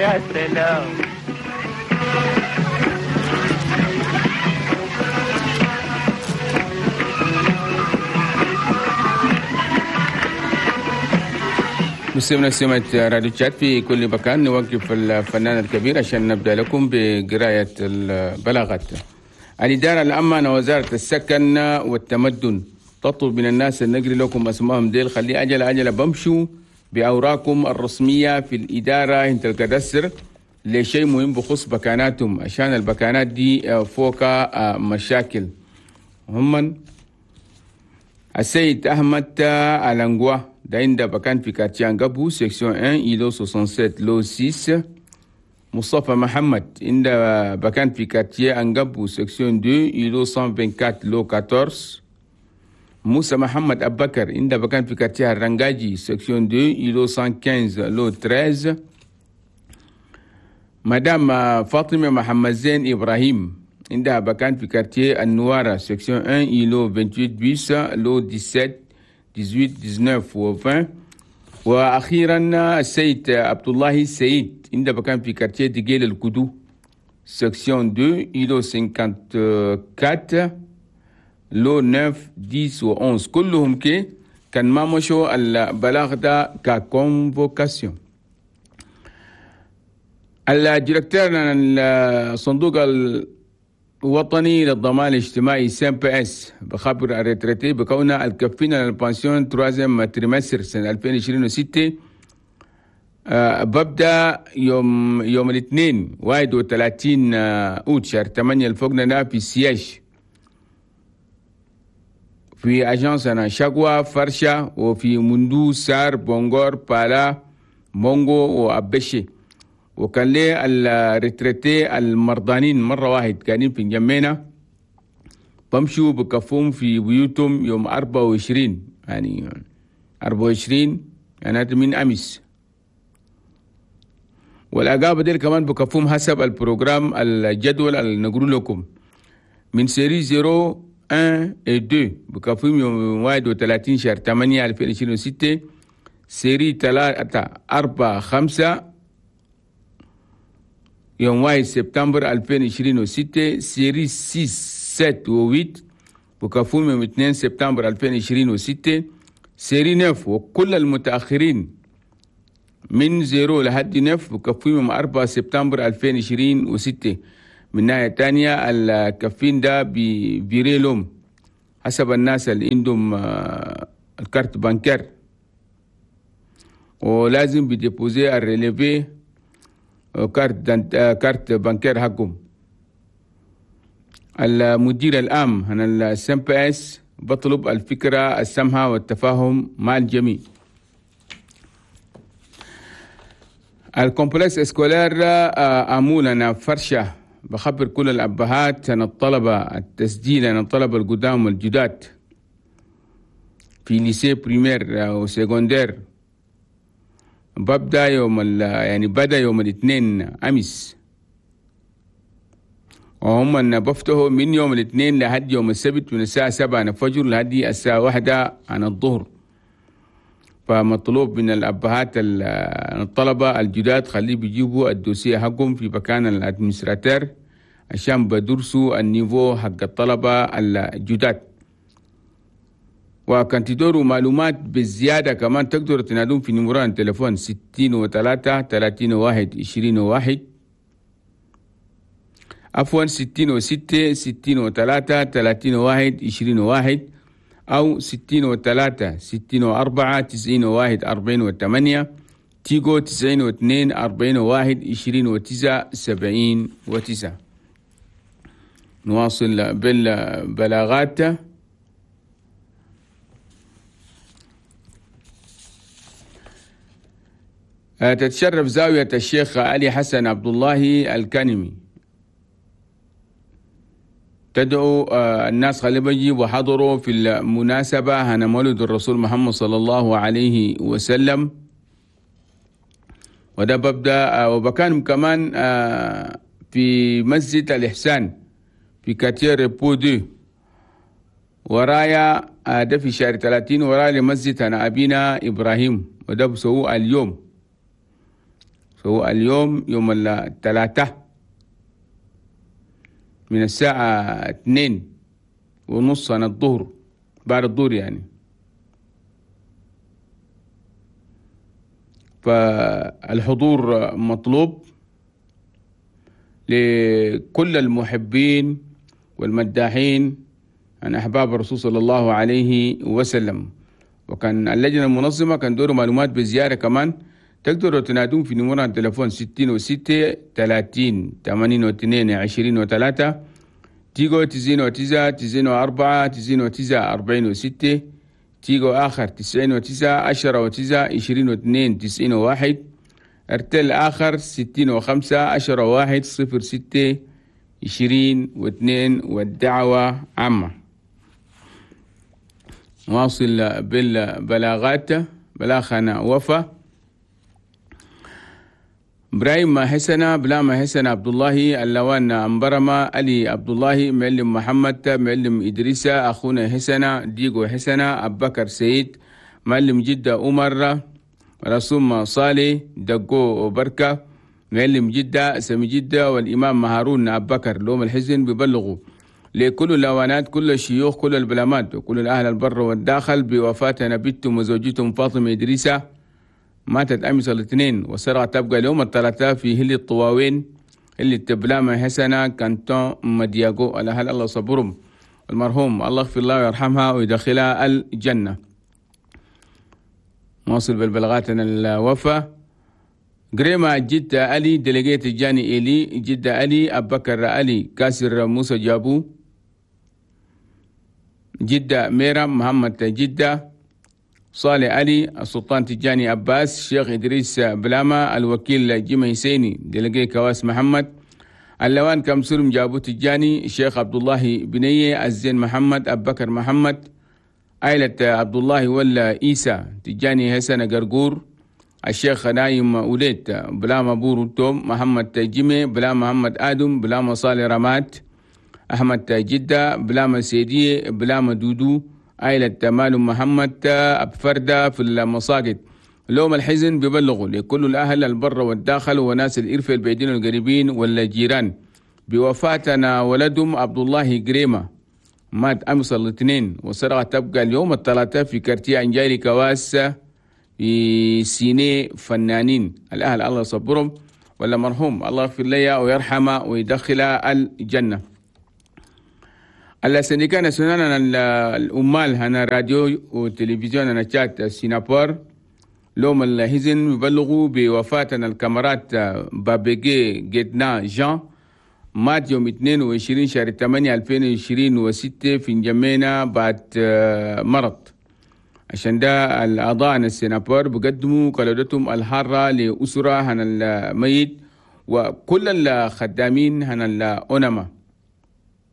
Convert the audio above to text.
يا سلام. مستمعينا سمعة راديو تشاد في كل مكان، نوقف الفنان الكبير عشان نبدأ لكم بقراءة البلاغات. الإدارة العامة وزارة السكن والتمدن تطلب من الناس أن نقري لكم أسمائهم ديل، خلي أجل أجل بمشوا بأوراقكم الرسمية في الإدارة انت الكدسر لشيء مهم بخص بكاناتهم، عشان البكانات دي فوق مشاكل. هم السيد أحمد ألانغوا ده عند بكان في quartier أنقابو section 1 îlot 67 lot 6. مصطفى محمد عند بكان في quartier أنقابو section 2 îlot 124 lot 14. موسى محمد أبكر عند بكان في quartier الرنجاجي section 2 îlot 115 lot 13. مدام فاطمة محمد زين إبراهيم عندها بكان في quartier النوارة section 1 îlot 28 bis lot 17 18 19 و 20. واخيرا السيد عبد الله السيد عندها بكان في quartier دقيل الكدو section 2 îlot 54 lot 9 10 و 11. كلهم كي كان ما مشوا البلاغ ده ك convocation. ال directeur الصندوق الوطني للضمان الاجتماعي CNPS بخبر ال retraités بكون الكفين لل pension troisième trimestre سنة 2026 ببدأ يوم الاثنين 31 أوت شهر 8 الفوقنا في siège في agence أنا شقوة فرشة وفي مندو سار بونغور بالا مونغو وأبشي. وكان لي ال retraités المرضانين مرة واحد كانين في جمينة بمشوا بكفوم في بيوتهم يوم 24، يعني 24 يعني من أمس. والأقابة ديل كمان بكفوم حسب ال programme الجدول اللي نقول لكم من série 0 1 2 بكفوم يوم 31 شهر 8 2026، série 3 4 5 يوم 1 سبتمبر 2026، série 6 7 و 8 بكفوم يوم 2 سبتمبر 2026، série 9 وكل المتأخرين من 0 لحد 9 بكفوم يوم 4 سبتمبر 2026. من ناحية تانية الكفين ده بيريلهم حسب الناس اللي عندهم ال carte bancaire، ولازم بي déposer ال relevé carte bancaire حقهم. المدير العام هنا ال CNPS بطلب الفكرة السمحة والتفاهم مع الجميع. ال complexe scolaire أمولنا فرشة بخبر كل الأبهات عن الطلبة التسجيل عن الطلبة القدام والجداد في lycée primaire و secondaire ببدأ يوم يعني بدأ يوم الاثنين أمس، وهم أن بفتحوا من يوم الاثنين لحد يوم السبت من الساعة 7 الفجر لحد الساعة 1 عن الظهر. فمطلوب من الأبهات الطلبة الجداد خليه بيجيبوا ال dossier حقهم في مكان ال administrateur عشان بدرسوا ال niveau حق الطلبة الجداد. وكان تدوروا معلومات بالزيادة كمان تقدروا تنادون في numéro التليفون 63 31 21، عفوا 66 63 31 21 أو 63 64 91 48، تيجو 92 41 29 79. نواصل بالبلاغات. تتشرف زاوية الشيخ علي حسن عبد الله الكنمي تدعو الناس خلي وحضروا في المناسبة هنا مولد الرسول محمد صلى الله عليه وسلم. وده ببدأ وبكان كمان في مسجد الإحسان في quartier Repos deux ورايا ده في شهر 30 ورايا لمسجد أنا أبينا إبراهيم، وده بسوء اليوم فهو اليوم يوم الثلاثاء من الساعة 2:30 عن الظهر، بعد الظهر يعني. فالحضور مطلوب لكل المحبين والمداحين عن أحباب الرسول صلى الله عليه وسلم. وكان اللجنة المنظمة كان دور معلومات بزيارة كمان، تقدروا تنادون في نمرة التلفون 66 30 82 23، تيجو 99 94 99 46، تيجو آخر 99 10 9 22 91، ارتل آخر 65 10 1 06 22. والدعوة عامة. واصل بالبلاغات. بلاغنا وفا إبراهيم حسنة، بلاما حسن عبد الله، اللوان أمبرما، علي عبد الله، معلم محمد، معلم إدريسة، أخونا حسنة، ديغو حسنة، أبو بكر سيد، معلم جدة عمر، رسوم صالح، دقو بركة، معلم جدة سمي جدة، والإمام هارون أبو بكر. لوم الحزن ببلغوا لكل اللوانات، كل الشيوخ، كل البلامات، وكل الأهل البر والداخل بوفاة نبيتهم وزوجتهم فاطمة إدريسة، ماتت أمس الاثنين وسرعة تبقى اليوم الثلاثاء في هل الطواوين اللي تبلامة حسنة كانتون مدياغو. على هل الله صبرهم المرحوم، الله يغفر الله ويرحمها ويدخلها الجنة. واصل بالبلاغات الوفا. قريمة جدة علي، ديليجيت الجاني إلي جدة علي، أبو بكر علي، كاسر موسى جابو، جدة ميرا محمد جدة، صالح علي، السلطان تجاني عباس، شيخ إدريس بلاما، الوكيل جيمي حسيني، ديليجي كواس محمد، اللوان كمسلم جابو تجاني، شيخ عبد الله بنية، الزين محمد، أبو بكر محمد، عائلة عبد الله ولا إيسى تجاني حسن قرقور، الشيخ نايم وليد، بلاما بورو توم، محمد جيمي، بلا محمد آدم، بلاما صالح رمات، أحمد جدة، بلاما سيدية، بلاما دودو، عائلة مال محمد أبفردة في المساجد. لوم الحزن ببلغوا لكل الأهل البر والداخل وناس الإرفة البعيدين والقريبين والجيران بوفاتنا ولدهم عبد الله قريمة، مات أمس الاثنين وسرعة تبقى اليوم الثلاثاء في كارتيه أنجاري كواس في سيني فنانين. الأهل الله يصبرهم، ولا مرحوم الله يغفر لي ويرحمه ويدخله الجنة. ال syndicat national الأمال هنا راديو وتلفزيون هنا تشات سينابور لوم الحزن يبلغوا بوفاتنا ال camarade بابيجي جدنا جان، مات يوم 22 شهر 8 2026 في نجمينا بعد مرض. عشان ده الأعضاء السينابور بقدموا قلادتهم الحارة لأسرة هنا الميت وكل الخدامين هنا الأنمة.